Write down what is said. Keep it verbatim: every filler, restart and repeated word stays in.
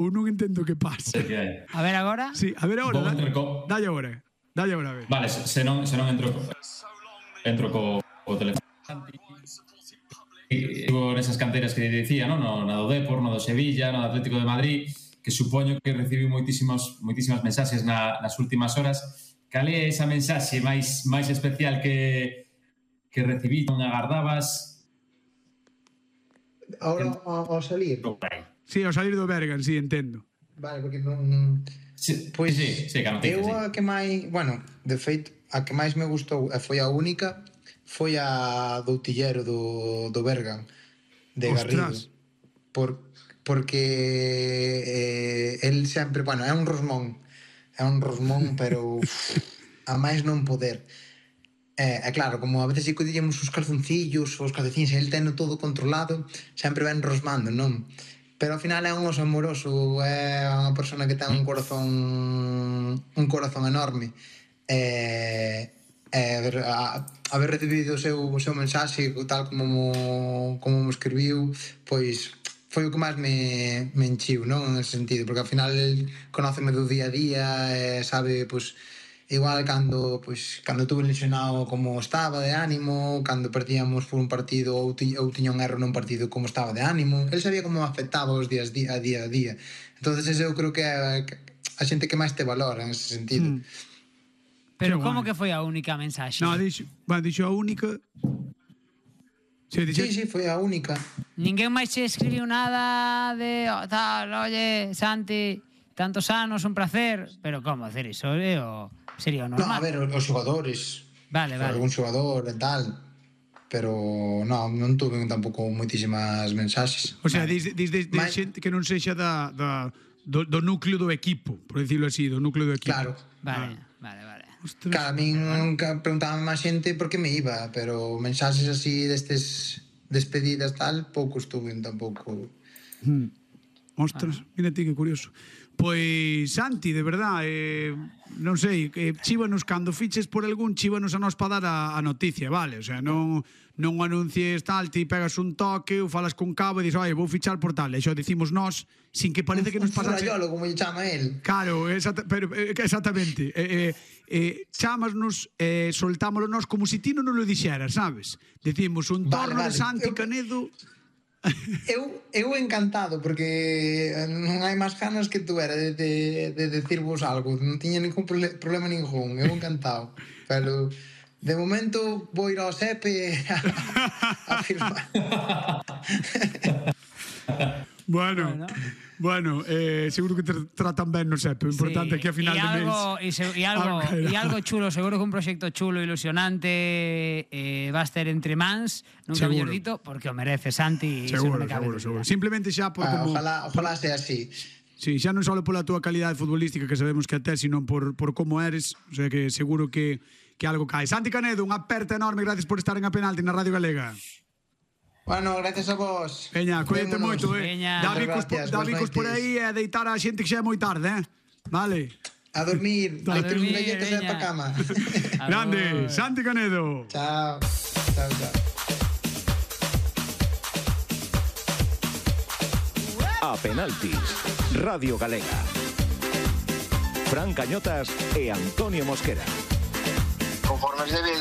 ou non entendo que pasa. Que hai. A ver agora. Sí, a ver agora. Vou Da, entrar co- dalle agora. Dalle agora, a ver. Vale, se se non, se non entro co- entro co, co teléfono. Estivo nesas canteras que dicía, non? No, na do Depor, no do Sevilla, no do Atlético de Madrid, que supoño que recibiu moitísimos, moitísimas mensaxes na, nas últimas horas. Cal é esa mensaxe máis máis especial que que recibí, non agardabas? Ahora ao, ao salir. Sí, ao salir do Bergan, sí, entendo. Vale, porque non... Sí, Pois sí, sí, que a noticia, eu sí. a que máis, bueno, de feito, a que máis me gustou e foi a única, foi a do Utillero do, do Bergan, de Garrido. Ostras. Por, porque eh, el sempre, bueno, é un rosmón, é un rosmón, pero uf, a máis non poder. É, é claro, como a veces si collíamos os calzoncillos, os calcetines, el teno todo controlado, sempre ven rosmando, non? Pero ao final é un oso amoroso, é unha persona que ten un corazón un corazón enorme. E, e haber, a, haber recibido o seu, o seu mensaxe tal como mo, como mo escribiu, pois foi o que máis me, me enchiu, non? En ese sentido, porque ao final el conóceme do día a día e sabe, pois, igual cando, pois, cando estuve lesionado como estaba de ánimo, cando perdíamos por un partido ou, ti, ou tiña un erro nun partido como estaba de ánimo, el sabía como afectaba os días día a día a día. Entonces ese eu creo que é a xente que máis te valora en ese sentido. Mm. Pero Qué como guai. que foi a única mensaxe? No, dixo, bueno, dixo a única. Sí, dixo, Sí, sí, foi a única. Ninguén máis che escribiu nada de oh, tal, oye, Santi, tantos anos, un placer. Pero como hacer iso? Eh, o sería o No, normal? a ver, os xogadores, Vale, vale. algún xogador e tal, pero non, non tuve tampouco moitísimas mensaxes. o sea, dis, dis, dis, dis Mais- xente que non sexa da, da, do, do núcleo do equipo, por decirlo así, do núcleo do equipo. Claro. Vale, vale, vale. Ostras. Claro, a min nunca preguntaban máis xente por que me iba, pero mensaxes así destes despedidas tal, poucos tuve tampouco. Mm. Ostras, mira ti que curioso. Pois, Santi, de verdad, eh, non sei, eh, chívanos cando fiches por algún, chívanos a nos para dar a, a noticia, vale? O sea, non, non anuncies tal, ti pegas un toque ou falas cun cabo e dis, oi, vou fichar por tal, e xo decimos nós, sin que parece que nos Un pasase... furrayolo, como lle chama el. Claro, exacta, pero, eh, exactamente. Eh, eh, eh, chámasnos, eh, soltámoslo nós como se ti non nos lo dixeras, sabes? Decimos un Vale, torno vale. de Santi Eu- Canedo... Eu, eu encantado, porque non hai máis ganas que tú era de, de, de decirvos algo, non tiña ningún prole- problema ningún, eu encantado, pero de momento vou ir ao S E P a, a firmar. Bueno, bueno, bueno eh, seguro que te tratan ben no S E P. O importante é que a final y de algo, mes... y, se, y, algo, algo y algo chulo, seguro que un proxecto chulo, ilusionante eh, va a estar entre mans, nunca Seguro. mellor dito, porque o merece Santi. Seguro, iso non me cabe seguro, dúbida. seguro. Simplemente xa por Ah, como... ojalá, ojalá sea así. Sí, xa non só pola túa calidade futbolística que sabemos que a tes, sino por, por como eres, o sea que seguro que, que algo cae. Santi Canedo, unha aperta enorme, gracias por estar en A Penalti na Radio Galega. Bueno, gracias a vos. Veña, cuídate Vémonos. moito, eh. Veña. Dá bicos, por, Gracias, dá boas bicos por noites. aí e a deitar a xente que xa é moi tarde, eh. Vale. A dormir, A a dormir, dormir, galletas e veña. pa cama. A Grande, vos. Santi Canedo. Chao. Chao, chao. A Penaltis, Radio Galega. Fran Cañotas e Antonio Mosquera. Conforme es debido.